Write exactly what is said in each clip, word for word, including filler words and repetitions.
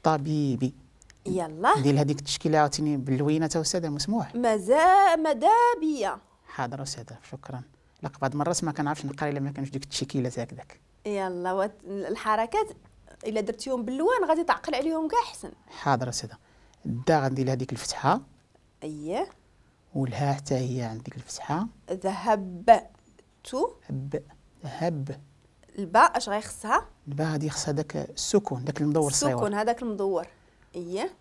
الطبيب. يلا ندير هذيك التشكيلة عاوتاني باللوينه تا استاذه مسموح؟ مازال ماذا بيا. حاضر استاذه شكرا. لا بعض المرات ما كنعرفش نقرا الا ما كانش ديك التشكيلات هكذاك. يلا وت... الحركات الا درتيهم باللوان غادي تعقل عليهم كاع احسن. حاضر استاذه. الدا غندير هذيك الفتحة. اييه. والها حتى هي عند ديك الفتحة. ذهبت. ب ذهب. الباء اش غيخصها؟ الباء غادي يخصها داك السكون، داك المدور الصغير. السكون هذاك المدور. اييه.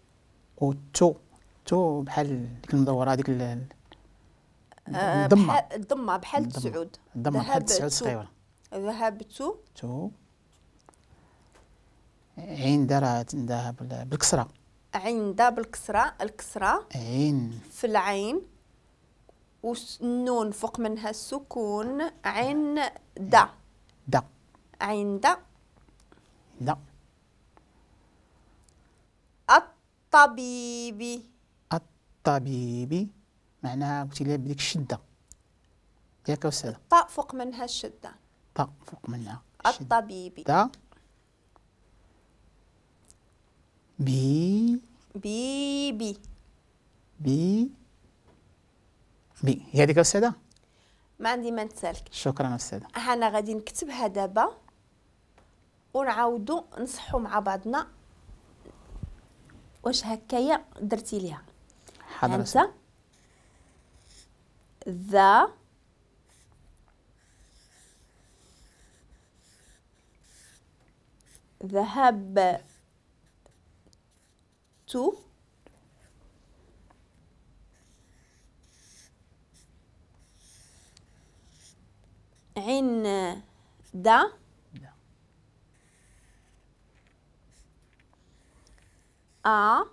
والتو تو بحال ديك المدوره هذيك الضمة. الضمة بحال تسعود. الضمة بحال تسعود صغيرة. ذهبت. تو عند راه عندها بالكسرة. عند بالكسرة، الكسرة عين في العين والنون فوق منها السكون. عند دا عند دا الطبيب. الطبيب معناها قلتي لي بديك الشدة ياك أستاذة؟ الطاء فوق منها الشدة. طاء فوق منها الطبيب. دا بي بي بي بي بي. هي هذيك أستاذة؟ ما عندي ما نتسالك. شكرا أستاذة. أنا غادي نكتبها دابا ونعاودو نصحو مع بعضنا واش هكايا درتي ليها. حاضر أستاذة. ذا ذهبت عند أ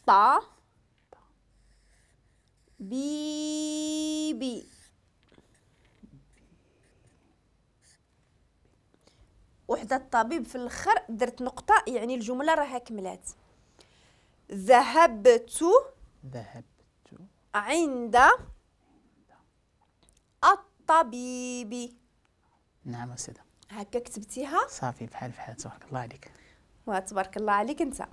طا بي بي. وحدة الطبيب في الاخر درت نقطة، يعني الجملة راها كملات. ذهبت ذهبت عند الطبيب. نعم أستاذة. هكا كتبتيها؟ صافي بحال بحال. تبارك الله عليك. وتبارك الله عليك انت.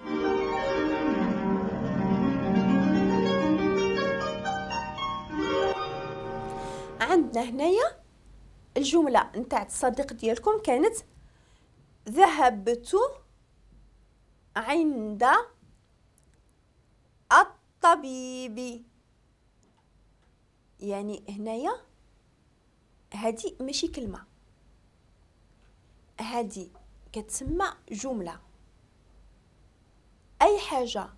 عندنا هنايا الجملة نتاع الصديق ديالكم كانت ذهبت عند الطبيب. يعني هنايا هادي ماشي كلمة، هادي كتسمى جملة. أي حاجة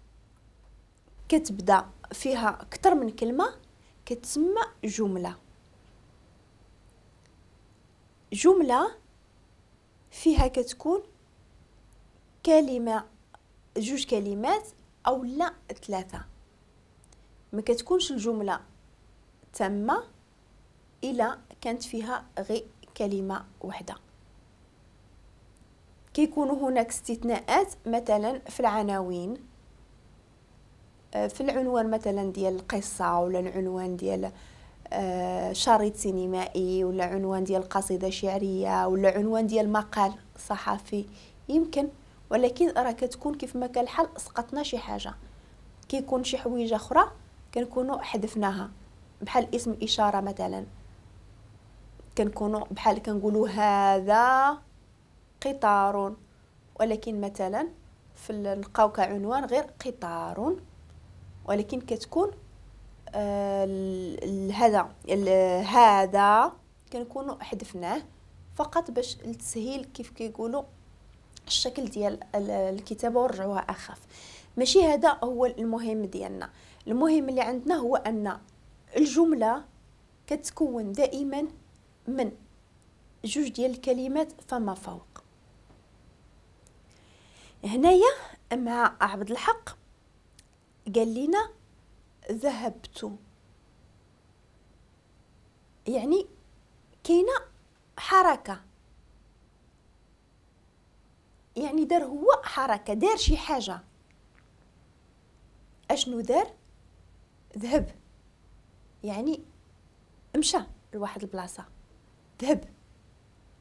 كتبدا فيها أكثر من كلمة كتسمى جملة. جملة فيها كتكون كلمة، جوج كلمات أو لا ثلاثة. ما كتكونش الجملة تامة إلا كانت فيها غير كلمة واحدة. كيكونوا هناك استثناءات، مثلا في العناوين، في العنوان مثلا ديال القصة، ولا العنوان ديال شريط سينمائي، ولا عنوان ديال قصيدة شعرية، ولا عنوان ديال مقال صحفي يمكن. ولكن راه كتكون كيف ما كان الحال سقطنا شي حاجة، كيكون شي حويجة أخرى كنكونوا حذفناها، بحال اسم إشارة مثلا، كنكونوا بحال كنقولوا هذا قطار، ولكن مثلا في نلقاو كعنوان غير قطار، ولكن كتكون آه هذا هذا كنكونوا حذفناه فقط باش للتسهيل كيف كيقولوا الشكل ديال الكتابة ورجعوها اخف. ماشي هذا هو المهم ديالنا. المهم اللي عندنا هو ان الجملة كتكون دائما من جوج ديال الكلمات فما فوق. هنايا مع عبد الحق قال لنا ذهبت، يعني كاينه حركة، يعني دار هو حركة، دار شي حاجة. اشنو دار؟ ذهب، يعني مشى لواحد البلاصة، ذهب.